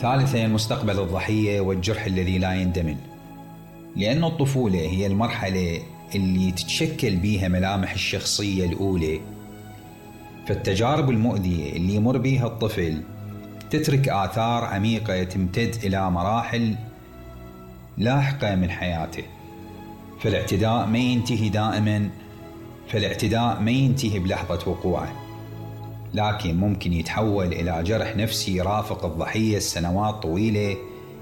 ثالثاً، مستقبل الضحية والجرح الذي لا يندمن. لأن الطفولة هي المرحلة اللي تتشكل بيها ملامح الشخصية الأولى، فالتجارب المؤذية اللي يمر بيها الطفل تترك آثار عميقة تمتد إلى مراحل لاحقة من حياته. فالاعتداء ما ينتهي بلحظة وقوعه، لكن ممكن يتحول إلى جرح نفسي يرافق الضحية السنوات طويلة،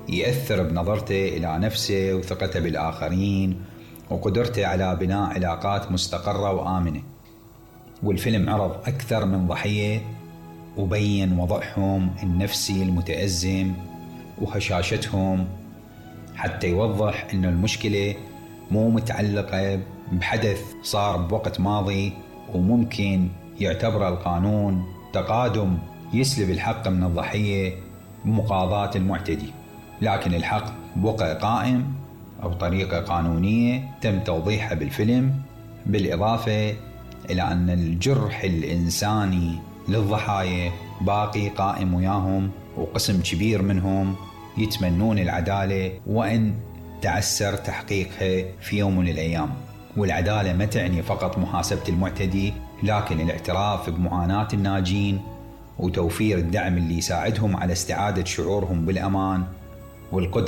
يأثر بنظرته إلى نفسه وثقته بالآخرين وقدرته على بناء علاقات مستقرة وآمنة. والفيلم عرض أكثر من ضحية وبين وضعهم النفسي المتأزم وهشاشتهم، حتى يوضح أن المشكلة مو متعلقة بحدث صار بوقت ماضي وممكن يعتبر القانون تقادم يسلب الحق من الضحية بمقاضاة المعتدي، لكن الحق بقى قائم بطريقة قانونية تم توضيحها بالفيلم. بالإضافة إلى أن الجرح الإنساني للضحايا باقي قائم وياهم، وقسم كبير منهم يتمنون العدالة وإن تعسر تحقيقها في يوم من الأيام. والعدالة ما تعني فقط محاسبة المعتدي، لكن الاعتراف بمعاناة الناجين وتوفير الدعم اللي يساعدهم على استعادة شعورهم بالأمان والقدرة